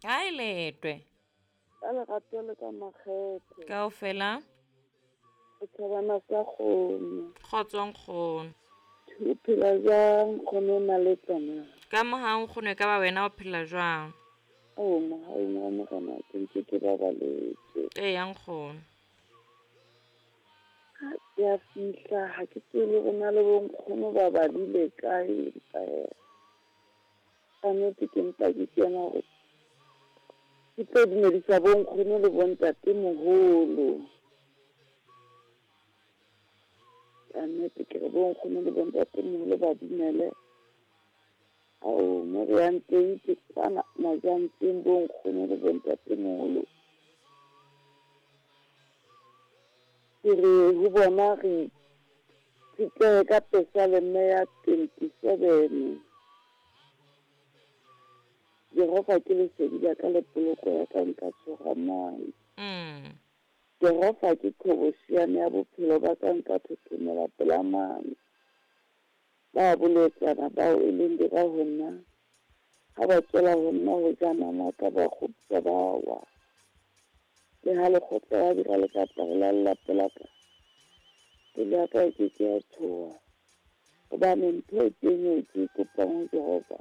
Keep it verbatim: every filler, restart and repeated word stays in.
Kae Letwe? Ka lerato le ka makgethe. Kaofela? Setjhabana sa kgomo. Kgotso nkgono. O phela jwang nkgono o na le tsona? Ka mohau nkgono e ka ba wena o phela jwang? Oh, mohaung wa Morena ke ntse ke babaletswe. Eya nkgono. Ha ke a fihla ha ke tsebe hore na le bo nkgono ba badile kae empa hee ka nnete ke mpa ke kena hore ke tlo dumedisa bo nkgono le bo ntatemoholo. Ka nnete ke re bo nkgono le bo ntatemoholo ba dumele. Ao mo re yang teng ke kwana Majantseng bo nkgono le bo ntatemoholo. Ke re ho bona re itshetlehe ka Pesaleme ya twenty-seven. Jehova ke lesedi la ka le poloko ya ka, nka tshoha mang? Mm. Jehova ke qhobosheane ya bophelo ba ka, nka thothomela pela mang? Ba bolotsana bao e leng dira ho nna, ha ba tswela ho nna ho ja nama ka ba kgoptjwa ba wa. Le ha lekgotla la dira le ka tla ho lalla pela ka, pelo ya ka e ke ke ya tshoha. Hobane ntho e teng eo ke e kopang ho Jehova,